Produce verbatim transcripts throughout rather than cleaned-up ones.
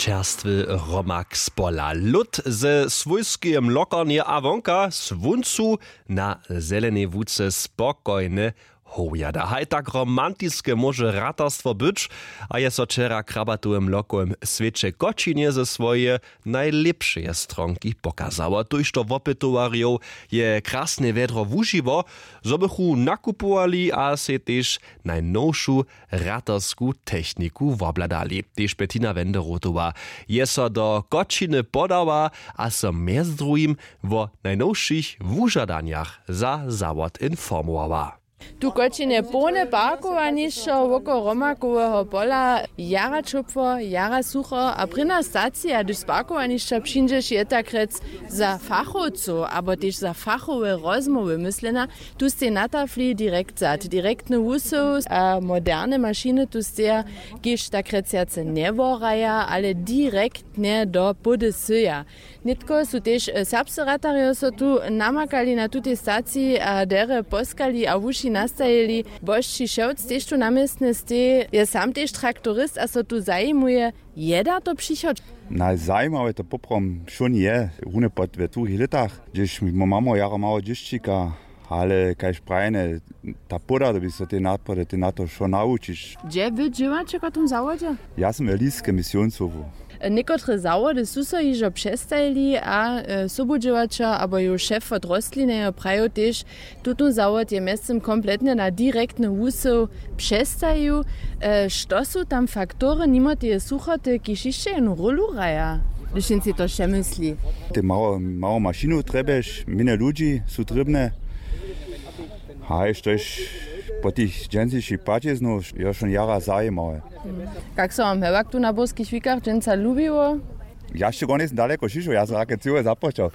Čerstwy hromak z pola, lód ze swójskeje mlokarnje a wonka słóncu na zelenej łuce spokojne howjada. Haj tak romantiske móže ratarstwo być. A je so wčera w krabatowe mlokowym swěće w kočinje ze swojeje najlěpšeje stronki pokazało, tójšto wopytowarjow je krasne wjedro wužiło, zo bychu nakupowali a sej tež najnowšu ratarsku techniku wobhladali. Tež Bettina Wenderotowa je so do kočiny podała a so mjez druhim wo najnowšich wužadanjach za zawod informowała. Tu w kočinje połne parkowanišćo wokoło hromakoweho pola, jara ćopło, jara sucho. A prěna stacija, hdyž z parkowanišća přińdźeš, je tak rjec za fachowcow abo tež za fachowe rozmołwy myslena. Tu stej na tafli direkt sad, direktny wusył a moderne mašiny tu steja, kiž tak rjec wjace njeworaja, ale direktnje do pody syja. Nětko su tež serbscy ratarjo so tu namakali na tutej staciji a derje poskali a wuši nastajili. Bosći šewc tež tu na městnje stej, je sam tež traktorist a so tu zajimuje. Je da to přichod? Najzajimawe to poprawom wšón je runje pod we druhich lětach, hdźež my mamo jara mało dźěšćika. Ale kaž prajene, ta płoda, to by so te nadpady te na to wšo nawučić. Hdźe wy dźěłaće w tym zawodźe? Ja sym we liske misioncowu. Někotre zawody su so hižo přestajili a sobudźěłaćer abo jow šef wot rostlinejo prajił tež, tutón zawod je mjeztym kompletnje na direktny wusył přestajił. Što su tam faktory nimo teje suchoty kiž hišće jednu rólu hraja, hdyž jen sej to přemysli? Te mało mało mašinow trjebješ, mjenje ludźi su trěbne. Haj štož po tych dźensnišich płaćiznow je wšón jara zajimawe. Kak so wam hewak tu na burskich wikach dźensa lubiło? Ja sće gornje sym daleko šišoł, ja sym rake cyłe započał.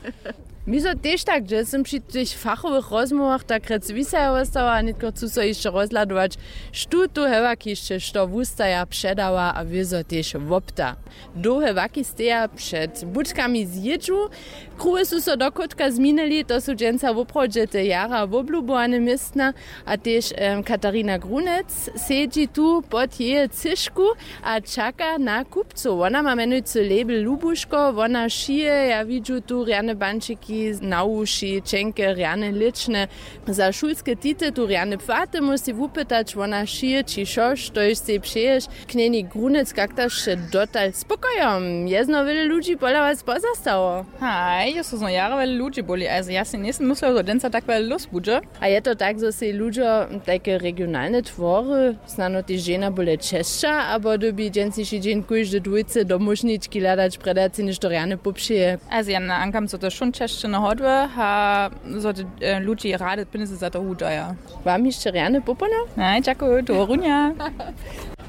Mi so tež tak, hdźe sym při tych fachowych rozmołwach tak rjec wisajo wostała a nětko chcu so hišće rozhladować, štó tu hewak hišće što wustaja, předawa a wězo tež wopta. Dołhe waki steja před budkami z jědźu. Kruhy su so dochódka změnili, to su dźensa woprawdźe te jara woblubowane městna. A tež katarina grunec sedźi tu pod jeje cyšku a čaka na kupcow. Wona ma mjenujcy label lubuško, wona šije, ja widźu tu rjane bančiki na wuši, ćenke rjane lěčne. Za šulske tity tu rjane płaty móhł sej wupytać, wona šije ći wšo štož sej přeješ. Knjenik grunec, kak ta sće dotal spokojom? Je znowu wjele ludźi pola was pozastało? Haj, jo so znowu jara wjele ludźi boli, ale ja sej njejsym myslił zo dźensa tak wjele lós budźe. A je to tak zo sej ludźo tajke regionalne twory, snano tež dźensa bóle česća abo dyrbi dźensniši dźeń kóždy dwójce domóžnički hladać, prjeda sej něšto rjane popřeje? Ale ja nahankam zo to wšón česće na hodłe a zo te ludźi rady pynjezy za to wudźaja. Wam hišće rjane popolno. Haj, dźakuju, do runja.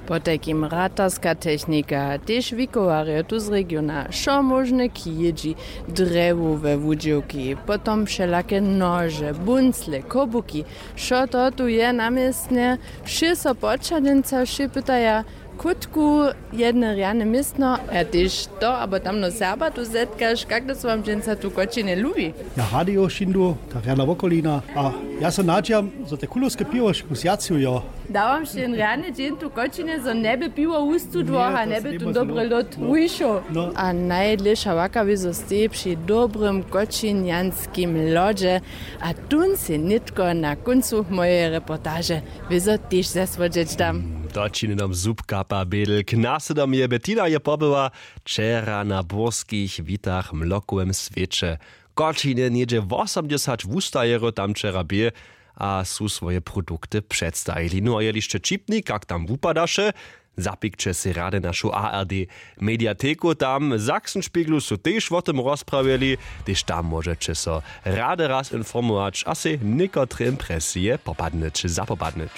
Potajkim ratarska technika, tež wikowarjo tu z regiona, wšo móžne kědźi, drjewowe wudźěłki, potom wšelake nože, buncle, kobuki. Wšo to tu je na městnje. Wšě so poćadźenca wšě pytaja, kótku jedne rjane městno? A tež to abo tamno serba tu zetkaš? Kak da so wam dźensa tu w kočinje lubi? Ja rady jo šindu, ta rjana wokolina. A ja so nadźijam zo te kulowske piwo šku zjaciju jo. Dałam sće jen rjany dźeń tu kočinje zo njeby piwo wustudło a njeby tón dobry lód wušoł. A najdlěša waka wězo steji při dobrym kočinjanskim lodźe. A tón sej nětko na kóncu mojeje reportaže wězo tež zasłodźeć dam. To čini nam zubkapa bědl k naslědom je bettina je pobyła wčera na burskich witach w mlokowym swěće. Kočinje něhdźe wosomdźesać wustajerjow tam wčera bě a su swoje produkty předstajili. No a jeli sće ćipni, kak tam wupadaše, zapikće sej rady našu ard mediateku, tam w sachsenspeglu su tež wo tym rozprawjeli. Tež tam móžeće so rady raz informować a sej někotre impresije popadnyć zapopadnyć.